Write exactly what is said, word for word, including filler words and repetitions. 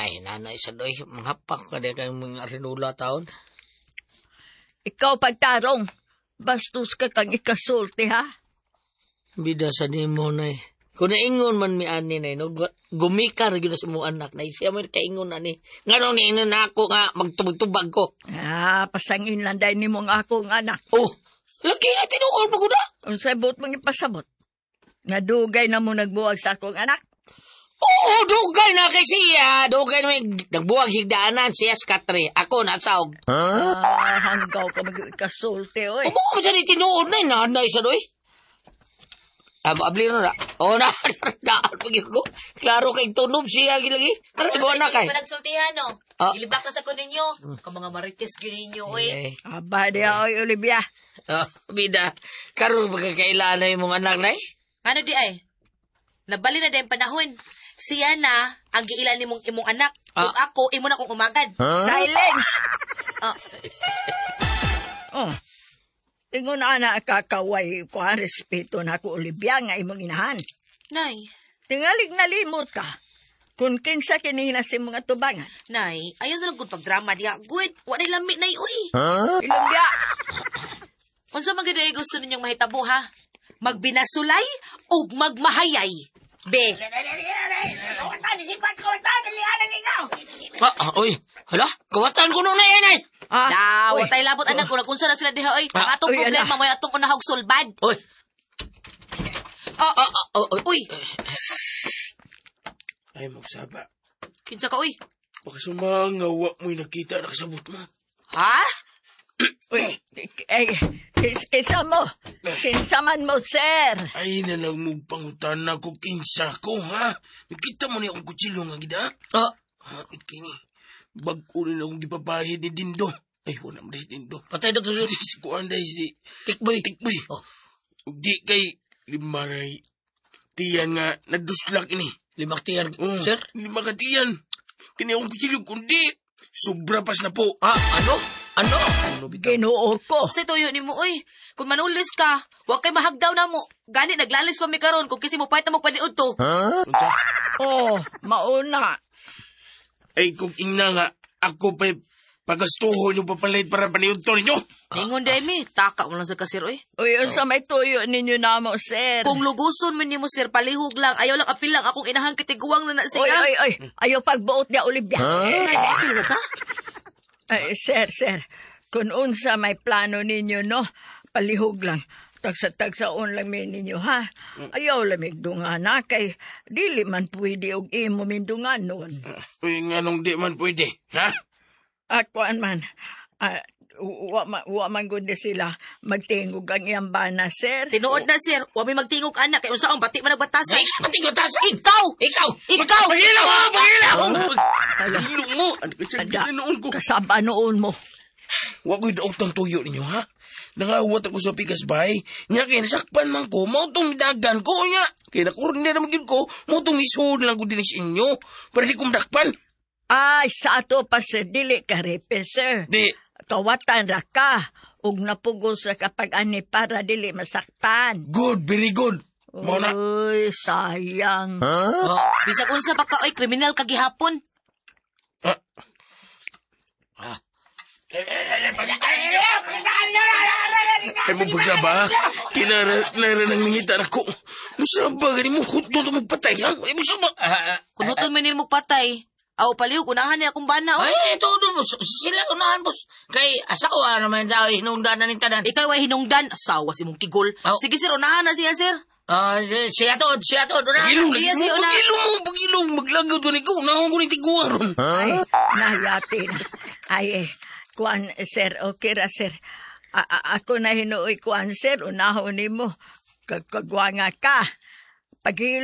Ay, nanay sa doy, manghapak ka di kang mga rinula taon. Ikaw pagtarong, bastos ka kang ikasulti ha? Bida sa nimo, nay. Kung naingon man mi ani, nay, no, gu- gumikar gyud sa imong anak, nay. Siya man kaingon ani. Nganong niingon na ako nga magtubag-tubag ko. Ah, pasangin lang dahil nimo ang akong anak. Oh, lagi na tinuod mo ko na. Unsay buot mong ipasabot? Nga dugay na mo nagbuwag sa akong anak. Oo, dugay na kay siya. Dugay na may nagbuwag higdaanan siya sa katre. Ako nasaog. Ah, hanggaw ka mag-ikasulti, oy. Umo mo siya ni tinuod na, nanay sa doy. Ab abli na na. Oh, na, daan pag ko. Klaro kay tunob siya gilagi. Ano ba na kay? Panagsultihan, no? Ah. Ilibak na sa ko ninyo. Ka mga marites gyud ninyo, oy. Eh, Aba, di oy, Olivia. oh, bida. Karon magkakailan na imong anak nay? Ano di ay? Nabali na din panahon. Siya na ang giilan nimong imong anak. Ah. Ug ako imo na kong umagad. Silence! Ah. Oh. Ingon ana kakaway ko ang respeto na ako, Olivia, nga imong inahan. Nay, Tingalig nalimot ka. Kung kinsa kini na si mga tubangan. nay, ayaw na lang gud pagdrama diha. Good, wa nay lami nay uy. Olivia, Unsa man gyud ay gusto ninyong mahitabo ha? Magbinasulay ug magmahayay. Be, Ah, ah, oy. Hala, kawatan ko nung nay nay. ah, Da, uy. wa tay labot anak kung unsa na sila diha oy. Ang Ah, atong uy, problema ala. mo atong unahog sulbad. Oy. Oh, Ah, ah, oh, oy. uy, Ay, magsaba. kinsa ka uy? Baka sumanga, wa mo'y nakita na kasabot mo. Ha? Uy, ay, kis, kinsa mo? Kinsa man mo, sir? Ay, nalang mo pangutan na ko kinsa ko, ha? Nakita mo ni akong kutsilyo nga gida? Ah, Ha, kini. Bag-o rin akong gipapahid ni Dindo. Ay, wala mo si Dindo. patay na to si Si Kuan dahil si Tikboy. Tikboy. Oh. Ug di kay limaray. Tiyan nga, nagduslak ini. Limak tiyan, Oh, sir. Lima ka tiyan. Kini akong kutsilyo, kundi. Sobra pas na po. Ah, ano? Ano? Ano, bitaw? Ginoo ko. Sa tuyo nimo oy. Kung manulis ka, wa kay mahagdaw na mo. Gani naglalis pa mi karon kung kasi mo payta mo paniud to. Unsa? Oh, mauna. Ay, kung ingna nga, ako pa'y pagastuhon yung papalit para paniudto ninyo. Ningon day mi, taka mo lang sa kasir oy. Uy, unsa may tuyo ninyo namo, sir? Kung luguson man nimo sir, palihog lang. Ayaw lang apil lang akong inahan kitiguang na na siya. Uy, uy, uy. Ayaw pagbuot niya, Olivia. Nay, apil na ka? Ay, sir, sir. Kung unsa may plano ninyo, no? Palihog lang. Tagsa-tagsaon lang mi ninyo, ha? Ayaw lamig dungana kay dili man pwede og imo mindungan nun. Uy, nga nung di man pwede, ha? At kuan man, ah, wa, ma, wa man gud ni sila magtingog ang iyang bana, sir. Tinuod na sir, wa mi magtingog anak kay unsaon bati man nagbatasa. Ay, pati ko tasan. Ikaw! Ikaw! Ikaw! Pagila mo! Pagila mo! Ala, Pagilo mo! Ano ka siya ada, noon ko? kasaba noon mo. Wa ko'y daotang tuyo ninyo, ha? Nangawat ako sa pikas bay. Nya kay nasakpan man ko, mao tong midagan ko nya. Kay nakurni na naman gyud ko, mao tong misuod lang ko din sa inyo. Para di ko madakpan. Ay, sa ato pa sir, dili ka repe, sir. Di, Kawatan ra ka, ug napugos ra kapag ani para dili masakpan. good, very good. Mao na. Uy, sayang. Oh, Bisag unsa pa ka oy, kriminal ka gihapon. Ah, ah. Ay mo pagsaba, ha? Kinara, kinara nang nangita na ko. Musaba, gani mo, hutdo to magpatay, ha? Ay, musaba. Ah, ah, Kunuton man nimo patay. Aw palihog unahan niya akong bana oy. Ay, ito, boss. Sila unahan, boss. Kay asawa naman daw, hinungdan na ni tanan. Ikaw ay hinungdan, asawa si mong kigol. Aw. Sige sir, unahan na siya sir. Ah, siya to, siya to, unahan. Pagilong, Sige, lagi sige, mo, una. pagilong mo, pagilong. Maglagaw ko ni ko, unahon ko ni tiguan ron. Ay, nahiyati na. Ay, eh, kuan, sir, okay ra, sir. A- a- ako na hinuoy kuan, sir. Unahon nimo. Kagkagwa nga ka. Paghilo